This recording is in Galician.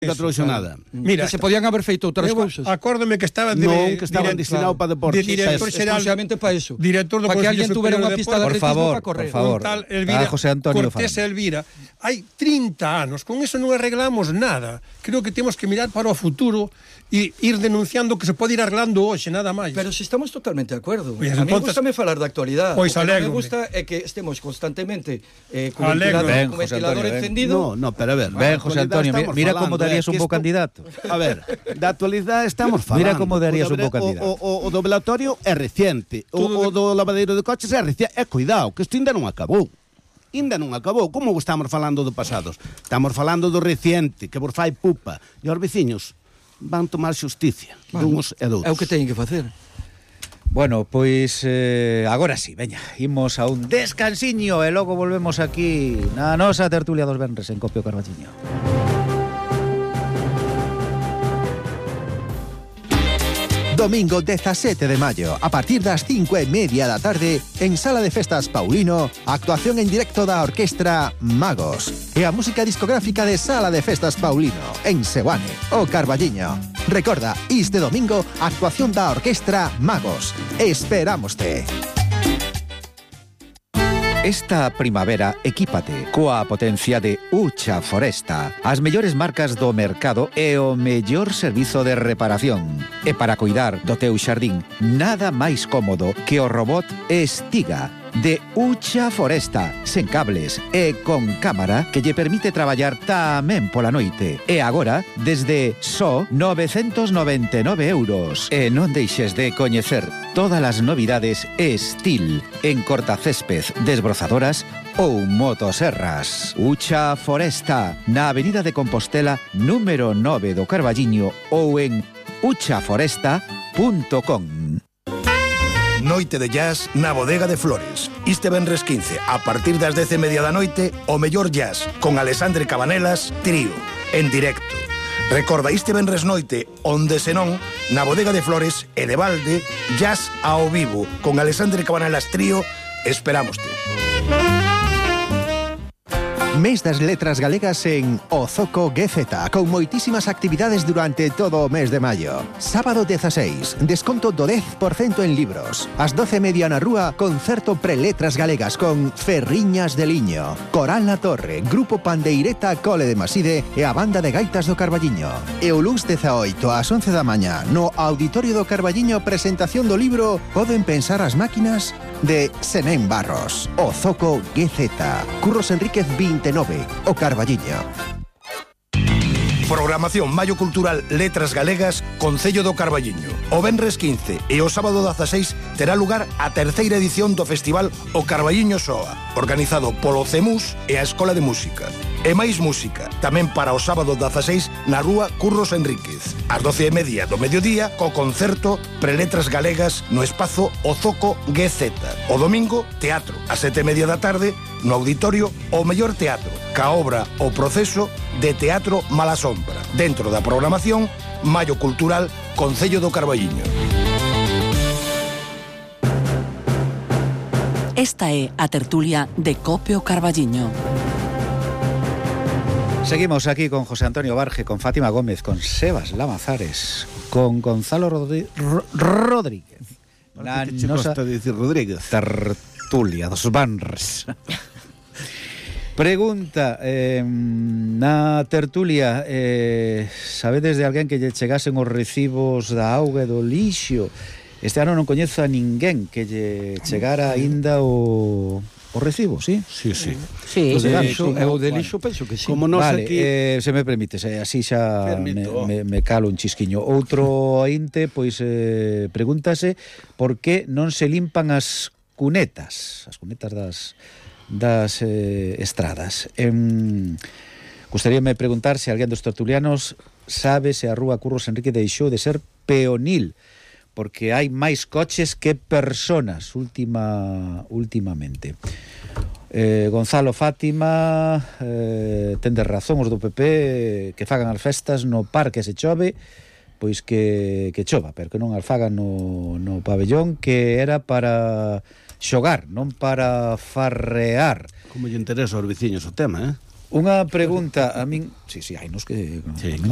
nunca trouxo nada. Mira, que se podían haber feito outras cousas. Acórdame que estaba Non, que estaban destinados para deportes. de director xeral, exclusivamente para eso. director do Para que Consello alguén tuvera Superior unha de pista de Deportes. atletismo para correr. por favor. Un tal Elvira, José Antonio Cortés Fan. Elvira. Hai 30 anos, con eso non arreglamos nada. Creo que temos que mirar para o futuro e ir denunciando que se pode ir arreglando hoxe, nada máis. Pero si estamos totalmente de acuerdo. Pois, A mí entonces- gustame falar da actualidade. Pois O que non me alégrome. gusta é que estemos constantemente con o Alégrome. ventilador, Ben, José Antonio, ben. encendido. No, pero a ver. Ben, da José actualidade Antonio, estamos mira falando, como darías que un bo isto- candidato. A ver, da actualidade estamos falando. Mira como darías O un bo doble- candidato. O do velatorio é reciente. O do lavadeiro de coches é reciente. Cuidado, que isto ainda non acabou. Ainda non acabou. Como estamos falando do pasados? Estamos falando do reciente, que vos fai pupa. E os veciños van tomar xusticia dunhos e doutros. É o que teñen que facer. Bueno, pois agora sí, veña, imos a un descansiño e logo volvemos aquí na nosa tertulia dos venres en Copio Carballiño. Domingo 17 de maio, a partir das 5:30 da tarde, en Sala de Festas Paulino, actuación en directo da orquestra Magos e a música discográfica de Sala de Festas Paulino, en Seoane, o Carballiño. Recorda, este domingo, actuación da orquestra Magos. Esperámoste. Esta primavera, equípate coa potencia de Ucha Foresta, as mellores marcas do mercado e o mellor servizo de reparación. E para cuidar do teu xardín, nada máis cómodo que o robot Estiga de Ucha Foresta, sen cables e con cámara que lle permite traballar tamén pola noite. E agora, desde só 999 euros. E non deixes de coñecer todas as novidades Estil en cortacésped, desbrozadoras ou motoserras. Ucha Foresta, na Avenida de Compostela, número 9 do Carballiño ou en uchaforesta.com. Noite de jazz na Bodega de Flores. Este venres 15, a partir das 10:30 da noite, o mellor jazz, con Alexandre Cabanelas, trío, en directo. Recorda, este venres noite, onde senón, na Bodega de Flores e de balde, jazz ao vivo, con Alexandre Cabanelas, trío, esperámoste. Mes das letras galegas en Ozoco GZ, con moitísimas actividades durante todo o mes de maio. Sábado 16, desconto do 10% en libros. Ás 12:30 na rúa, concerto preletras galegas con Ferriñas de Liño, Coral na Torre, Grupo Pandeireta Cole de Maside e a Banda de Gaitas do Carballiño. E o luns 18 ás 11 da mañá, no Auditorio do Carballiño, presentación do libro Poden pensar as máquinas? De Senén Barros. Ozoco GZ. Curros Enríquez 29, o Carballiño. Programación Maio Cultural Letras Galegas, Concello do Carballiño. O venres 15 e o sábado 16 terá lugar a terceira edición do Festival O Carballiño Soa, organizado polo CEMUS e a Escola de Música. E máis música, tamén para o sábado 16 na rúa Curros Enríquez, ás 12:30 do mediodía, co concerto Preletras Galegas no espazo Ozoco GZ. O domingo, teatro, ás 7:30 da tarde, no auditorio O Mellor Teatro, ca obra O Proceso de Teatro Mala Sombra, dentro da programación Maio Cultural Concello do Carballiño. Esta é a tertulia de Copio Carballiño. Seguimos aquí con José Antonio Barge, con Fátima Gómez, con Sebas Lamazares, con Gonzalo Rodríguez. Na nosa dicir Rodríguez. Tertulia dos Banres. Pregunta, na tertulia, sabedes de alguén que lle chegasen os recibos da auga e do lixo? Este ano non coñezo a ninguén que lle chegara aínda o recibo, sí? Sí, sí. Sí, Os de lixo, lixo, eu de lixo penso que sí. Como nos Vale, aquí... se me permites, así xa Permito. me calo un chisquiño. Outro ointe, pois, pregúntase por que non se limpan as cunetas das estradas. Gustaríame preguntar se alguén dos tertulianos sabe se a rúa Curros Enrique deixou de ser peonil, porque hai máis coches que personas últimamente. Gonzalo, Fátima, tendes razón, os do PP que fagan as festas no parque se chove, pois que chova, pero que non as fagan no pabellón, que era para xogar, non para farrear. Como lle interesa aos veciños o tema, Unha pregunta a min... Sí, hai nos que... Sí, claro.